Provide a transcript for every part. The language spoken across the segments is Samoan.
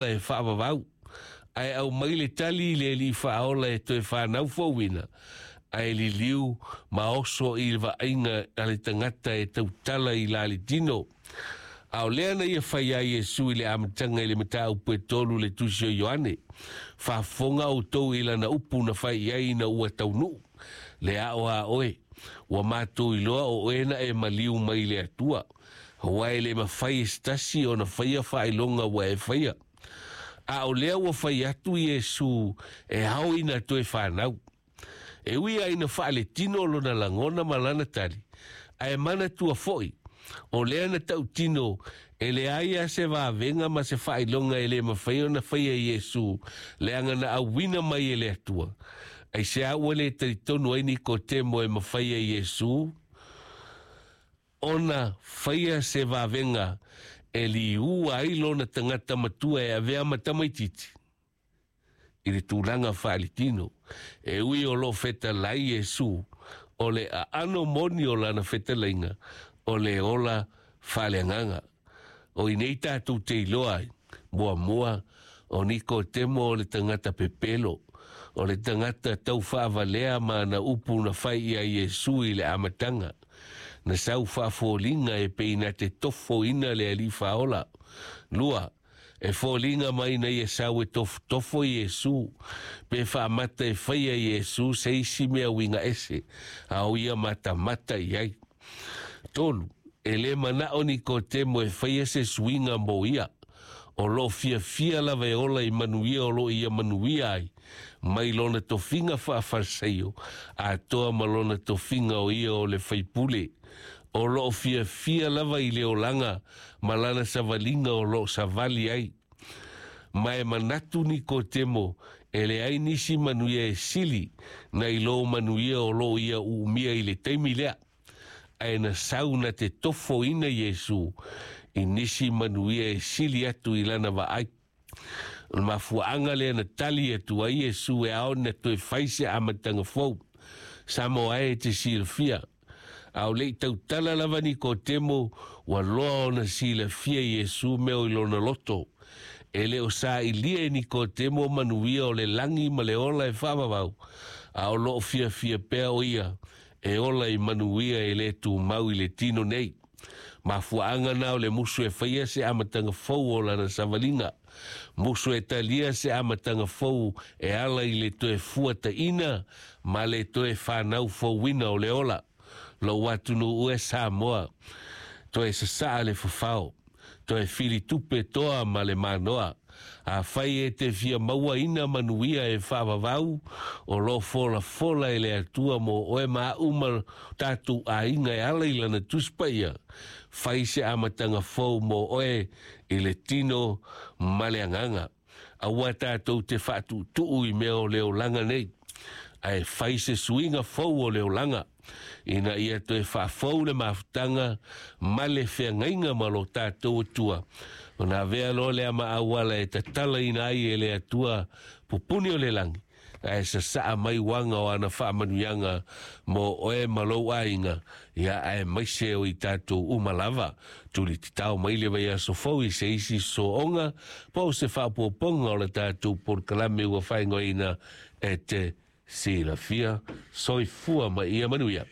E faavavau, ae aumai le tali i le Alii Faaola e toe fanau fouina, ae liliu ma oso i le vaaiga a le tagata e tautala i la le tino. A o lea na ia fai ai Iesu i le amataga i le mataupu e 3 le tusi o Ioane, faafofoga outou i lana upu na fai i ai ina ua taunuu, le ao a oe, ua matou iloa o oe na e maliu mai le Atua, aua e le mafai e se tasi ona faia faailoga ua e faia. A o lea ua fai atu Iesu e ao ina toe fanau. E ui ai ina faaletino lona lagona ma lana tali, ae manatua foi, o lea na tautino e leai lava se vavega ma se faailoga e le mafai ona faia e Iesu leaga na auina mai e le Atua. Aisea ua le talitonu ai Nikotemo e mafai e Iesu ona faia se vavega e liua ai lona tagata matua e avea ma tamaitiiti i le tulaga faaletino? E ui o loo fetalai Iesu, o le aano moni o lana fetalaiga o le ola faaleagaga. O i nei tatou te iloa ai, muamua, o Nikotemo o le tagata pepelo, o le tagata tau faavalea ma ana upu na fai i a Iesu i le amataga. Na sau faafoliga e pei na te tofoina le Alii Faaola. Lua, e foliga mai na ia sau e tofotofo Iesu, pe faamata e faia Iesu se isi mea uiga ese, a o ia matamata i ai. Tolu, e le manao Nikotemo e faia se suiga mo ia. O loo fiafia lava e ola i manuia o loo ia manuia ai, mai lona tofiga faafarisaio, atoa ma lona tofiga o ia o le faipule. O loo fiafia lava i le olaga ma lana savaliga o loo savali ai. Ma e manatu Nikotemo e leai nisi manuia e sili na i lo manuia o loo ia uumia i le taimi lea. Ae na sau na te tofoina Iesu i nisi manuia e sili atu i lana vaai. O le mafuaaga lea na tali atu ai Iesu e ao na toe fai se amataga fou. Samoa e te silafia. A o lei tautala lava Nikotemo, ua loa ona silafia Iesu mea o i lona loto. E le o sailia e Nikotemo manuia o le lagi ma le ola e faavavau, a o loo fiafia pea o ia e ola i manuia e le tumau i le tino nei. Mafuaaga na o le musu e faia se amataga fou o lana savaliga. Musu e talia se amataga fou e ala i le toe fuataina ma le toe whanau fouina o le ola. Lou atunuu e Samoa, toe sasaa le fafao, toe filitupe toa ma le manoa. A fai e te fia maua ina manuia e faavavau, o lo fola fola e le Atua mo oe ma au ma tātou aiga e ala i lana Tusi Paia. Fai se amataga fou mo oe i le tino ma le agaga. Aua tātou te faatuutuu i mea o le olaga nei, ae fai se suiga fou o le olaga, ina ia toe faafou le mafutaga ma le feagaiga ma lo tātou Atua. Ona avea loa lea ma auala e tatalaina ai e le Atua pupuni o le lagi, ae sasaa mai uaga o ana faamanuiaga mo oe ma lou aiga, ia aemaise o i tatou uma lava. Tuli tatao mai le vaiaso fou i se isi sooga po o se faaopoopoga o le tatou polokalame ua faaigoaina e te silafia. Soifua ma ia manuia.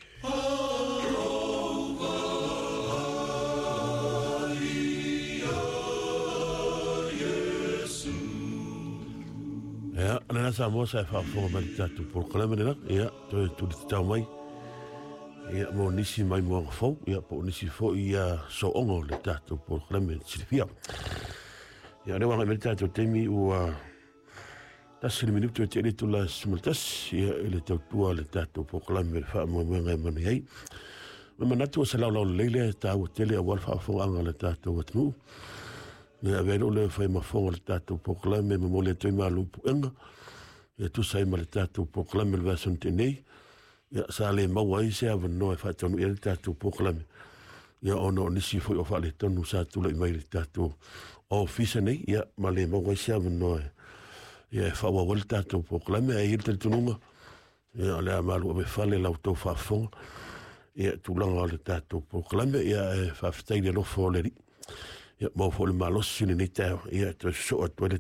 Ia, lena Samoa sa e faafofoga mai le tatou polokalame lena, ia, toe tuli tatao mai, ia, mo nisi mai moaga fou, ia, po o nisi foi ia sooga o le tatou polokalame silafia. Ia, o lea ua agai mai le tatou taimi ua 1 le minutu e te le itula 11, ia, i le tautua le tatou polokalame le faamoemoega e manu ai. Ma manatu o se laolao lelei lea e taua tele aua le faafofogaaga a le tatou atunuu. Ia avea ai lou leo e fai ma fofoga o le tatou polokalame e momoli atu ai malu puega ia tusa ai ma le tatou polokalame o le vaiaso na tea nei. Ia sa le maua ai se avanoa e faataunuu ai le tatou polokalame ia ona o nisi foi o faaletonu sa tulai mai i le tatou ofisa nei, ia ma le maua ai se avanoa ia e faaauau ai le tatou polokalame. Ae i ai le talitonuga ia o le a malu ave fale la outou faafofoga ia tulaga o le tatou polokalame, ia e faafetai i le alofa o le Alii. Ia maua foi le malosi i lenei taeao ia e toe sosoo atu ai le